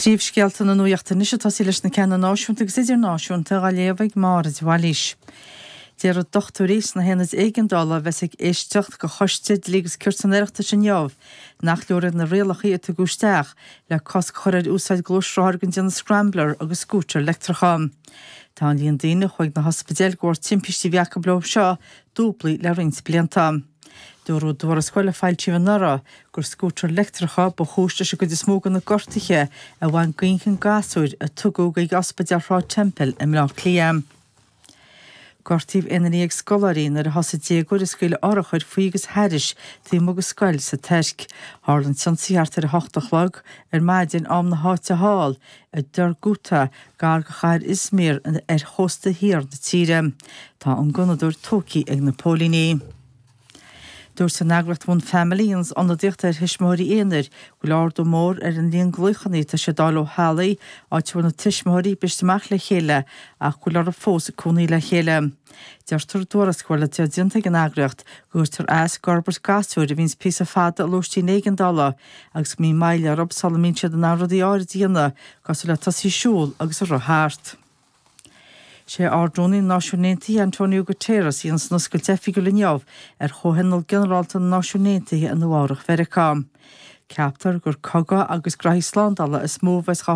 Príomhscéalta na nuachta anois ag tosaí leis na ceanna náisiúnta agus idirnáisiúnta á léamh ag Máire de Bhailís. Déarfaidh dochtúirí sna haonaid éigeandála a bheas ag éisteacht go Choiste Dlí agus Cirt an Oireachtais inniu nach leor iad na rialacha a tugadh isteach le cosc a chur ar úsáid gluaisrothar den déanamh Scrambler agus scútair leictreacha. Tá an líon daoine a chuaigh na hospidéil de bharr timpistí a bhí acu leo seo dúblaithe le roinnt blianta. Dúradh i dtuarascáil a foilsíodh anuraidh gur scútair leictreacha ba chúis leis an gcuid is mó de na gortuithe a bhain d'inchinn gasúir a tugadh chuig Ospidéal Shráid Temple i mBleá Cliath. Gortaíodh 11 scoláirí nuair a thosaigh déagóir ag scaoileadh urchair faoi agus thairis taobh amuigh de scoil sa Tuirc. Tharla an t-ionsaí thart ar 8 a chlog ar maidin am na háite thall i Durgutta, gar do chathair Izmir ar chósta thiar na tíre. Tá an gunnadóir tógtha ag na póilíní. Dúirt an eagraíocht One Family, a dhéananns ionadaíocht ar thuismitheoirí aonair, go bhfuil ardú mór ar an líon glaochanna atá siad a fháil ó theaghlaigh, áit a bhfuil na tuismitheoirí briste amach le chéile ach go bhfuil orthu fós cónaí le chéile. Deirtear i dtuarascáil atá déanta ag an eagraíocht go gcuirtear as d'fhorbairt gasúir a bhíonns píosa fada i lóistín éigeandála agus go mbíonn moill orthu sula mbíonn siad in ann rudaí áirid a dhéanamh cosúil le tosaí ag siúl agus ag rith thart. Sé Ard-Rúnaí na Náisiún Aontaithe Antonio Guterres a dhéanfas an oscailt oifigiúil inniu ar Chomhthionól Ginearálta na Náisiún Aontaithe i Nua Eabhrac Mheiriceá. Ceaptar gur cogadh agus graithí slándála is mó a bheas dhá.